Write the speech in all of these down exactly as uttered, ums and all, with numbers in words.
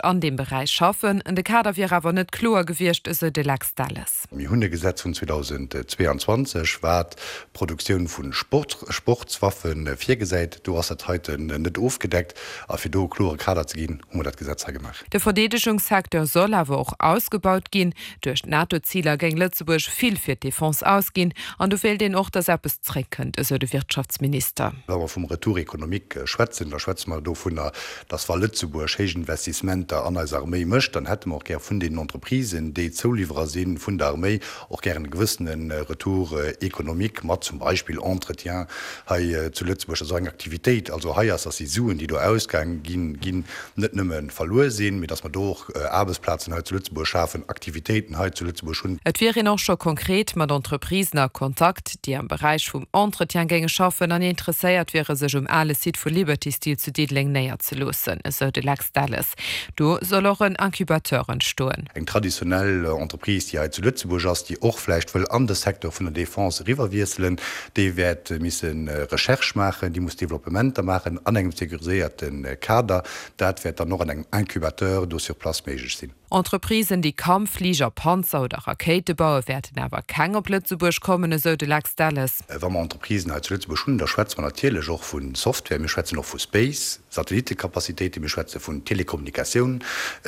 an deem Beräich schaffen. De Kader wier awer net kloer gewiescht, esou de Lex Delles. Mir hunn e Gesetz vun zweitausendzweianzwanzeg, wat d'Produktioun vu Sportswaffe virgesäit. Do ass dat heiten net ofgedeckt. A fir do e klore Kader ze ginn, hu mer dat Gesetz hei gemaach. De Verdeedegungssecteur soll awer och ausgebaut ginn. Duerch d'NATO-Ziler géing Lëtzebuerg vill fir d'Defense ausginn an do wéilt een och, datt eppes zréckkënnt, esou de Wirtschaftsminister. Wa mer vum Retour économique schwätzen, da schwätze mer dovunner, datt wa Lëtzebuerg héich Investissementer an eis Arméi mécht, dann hätte mer och gär vun deenen Entreprisen, déi Zouliwwerer si vun der Arméi, och gären e gewëssene Retour économique mat zum Beispill Entretien hei zu Lëtzebuerg, dass och eng Aktivitéit also hei ass, dass déi Suen, déi do ausgaang ginn, ginn, net nëmme verluer sinn, mee dass mer do och Aarbechtsplazen hei zu Lëtzebuerg schafen, Aktivitéiten hei zu Lëtzebuerg hunn. Et wier een och scho konkret mat Entreprisen a Kontakt, déi am Beräich vum Entretien géinge schaffen an interesséiert wiere sech um ale Site vu Liberty Steel zu Diddeleng néierzeloossen, esou de Lex Delles. Do soll och en Incubateur entstoen. Eng traditionell Entreprise, déi hei zu Lëtzebuerg ass, déi och vläicht wëll an de Secteur vun der Defense eriwwerwiesselen, déi wäert misse Recherche maachen, déi muss Developpementer maachen an engem sécuriséierte Kader. Dat wäert dann och an engem Incubateur do sur place méiglech sinn. Entreprisen, déi Kampffliger, Panzer oder Rakéite bauen, wäerten awer keng op Lëtzebuerg kommen, esou de Lex Delles. Wa mer Entreprisen hei zu Lëtzebuerg hunn, da schwätze mer natierlech och vu Software, mir schwätzen och vu Space, Satellitekapazitéiten, mir schwätze vun Telekommunikatioun,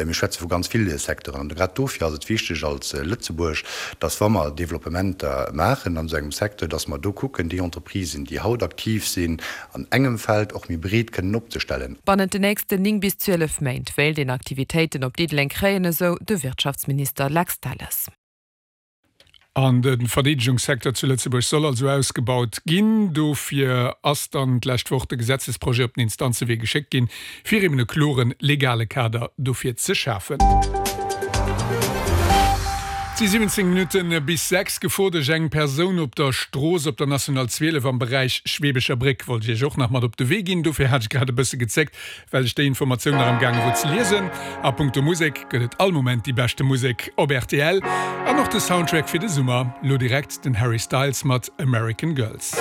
mir schwätze vu ganz ville Secteuren. An grad dofir ass et wichteg als Lëtzebuerg, dass wa mer Developpementer maachen an esou engem Secteur, dass mer do kucken, déi Entreprisen, déi haut aktiv sinn an engem Feld, och méi breet kënnen opzestellen. Bannent den nächsten néng bis zwielef Méint wéilt een Aktivitéiten op Diddeleng kréien, esou de Wirtschaftsminister Lex Delles. An de Verdeedegungssecteur zu Lëtzebuerg soll also ausgebaut ginn. Dofir ass dann d'lescht Woch de Gesetzesprojet op den Instanzewee geschéckt ginn, fir eben e kloren legale Kader dofir ze schafen. Et si siwwenzéng Minutte bis sechs. Gefor duerch eng Persoun op der Strooss op der National zwielef am Beräich Schweebecher Bréck wollt ech Iech och nach mat op de Wee ginn. Dofir hat ech grad e bësse gezéckt, well ech déi Informatioun nach am gaange wor ze liesen. A punkto Musek gëtt et all Moment déi beschte Musek op rtl an och de Soundtrack fir de Summer. Lo direkt den Harry Styles mat American Girls.